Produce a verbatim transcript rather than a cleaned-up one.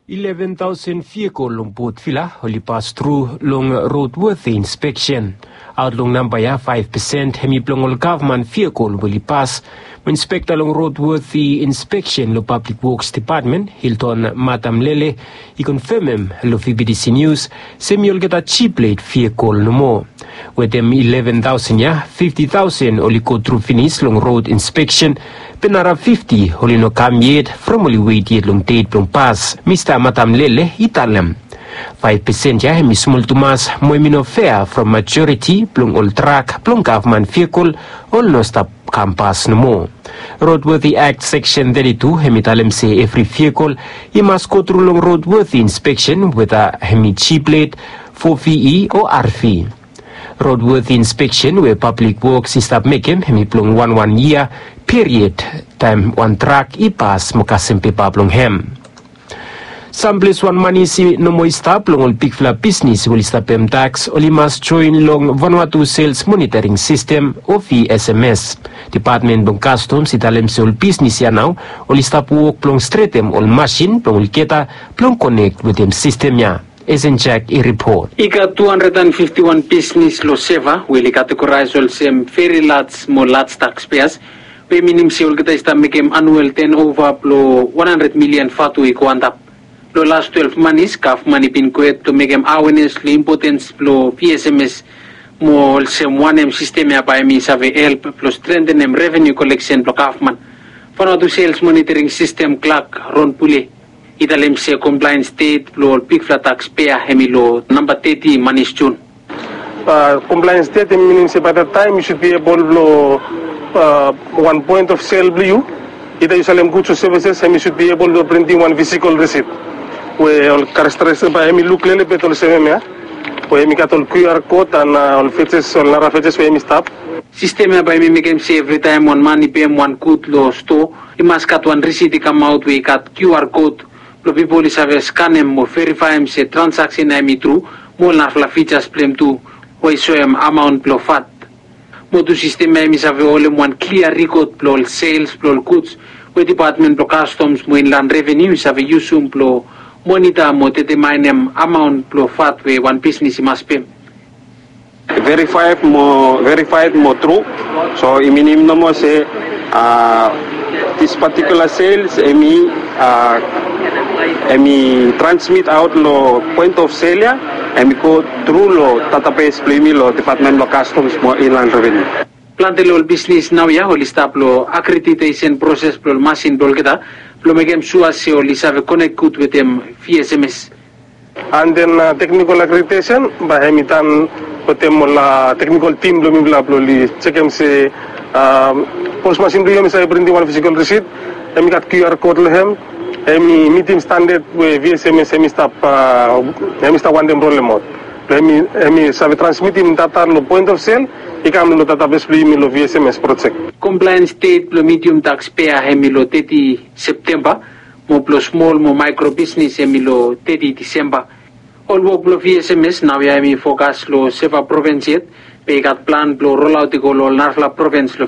Eleven thousand vehicle long Port Vila oli pass tru long roadworthy inspection. Aot long namba ya, five percent hemi blong ol gavman vehicle we oli pass. Mo inspekta long roadworthy inspection long Public Works Department, Hilton Matamlele, i konfemem long V B T C News se hemi olgeta G-plate vehicle nomo. Wetem eleven thousand ya, fifty thousand oli go tru finis long road inspection, be nara fifty oli no kam yet from oli wet yet long det blong pas, Mista Matamlele i talem. Five percent ya hemi smol tumas mo hemi no fea from majoriti blong ol trak blong gavman vehicle oli no stap kam pas nomo. Roadworthy Act Section thirty-two hemi talem se evri vehicle i mas go tru long roadworthy inspection weta hemi G-plate, four V E o R V. Roadworthy inspection we Public Works i stap mekem hemi blong wan wan yia period taem wan trak i pas mo kasem pepa blong hem. Sam ples wan manis i no moa i stap long ol bigfala bisnis we oli stap pem taks oli mas joen long Vanuatu Sales Monitoring System o V S M S. Department blong Customs i talem se ol bisnis ya nao oli stap wok blong stretem ol masin blong olgeta blong konek wetem sistem ya. Esen Jack i ripot. I gat two hundred and fifty-one bisnis long SEVA we oli kategoraes olsem veri laj mo laj taxpayers, we i minim se olgeta i stap mekem anuel tenova blong one hundred milian vatu i go antap. Long las twelve manis gavman i bin go hed blong mekem awenes long impotens blong V S M S, mo olsem wanem sistem ya bae hemi save help blong strentenem revenu koleksen blong gavman. Vanuatu Sales Monitoring System klak Ron Pule i talem se komplaens det blong ol bigfala taxpayer hemi long namba teti manis Jun. Compliance date hemi minim se by that time you should be able blong one point of sale blong you, either you salem goods o services, hemi should be able blong printing wan physical receipt we ol characteristics bae hemi luk lelebet olsem hemia, we hemi gat ol Q R code and ol features, ol nara features we hemi stap. Sistem ya bae hemi mekem se evritaem wan man i pem wan gud long stoa, i mas gat wan risit i kamaot we i gat Q R code blong pipol i save skanem mo verifaem se transaksen ya hemi tru, mo ol narafala features blong hem tu, we i soem amaon blong vat. Mo tu sistem ya hemi save holem wan klia rikod blong ol sales blong ol guds we Department blong Customs mo Inland Revenue i save yusum blong monita mo detemaenem amaon blong vat we wan bisnis i mas pem. Verifaed mo verifaed mo tru. So i minim nomo se this particular sales hemi hemi transmit aot long point of sale ya, hemi go tru long database blong yumi long Department blong Customs mo Inland Revenue. Plante long ol bisnis naoia oli stap long akreditesen proses blong ol masin blong olgeta, blong mekem sua se oli save konek gud wetem V S M S. And then teknikol akreditesen bae hemi tan wetem ol teknikol tim blong mifala blong oli jekem se pos masin blong yu hemi save printim wan fisikol risit, hemi gat Q R code long hem, hemi mitim standad we V S M S hemi stap hemi stap wantem rolemaot. Blong hemi hemi save transmitim data long point of sale i kam long database blong yumi long V S M S projek. Compliance date blong medium taxpayer hemi long teti Septemba, mo blong smol mo maekro bisnis hemi long teti Disemba. Ol wok blong V S M S naoia hemi fokas long SEVA provens yet, be i gat plan blong rolaot i go long ol narafala provens long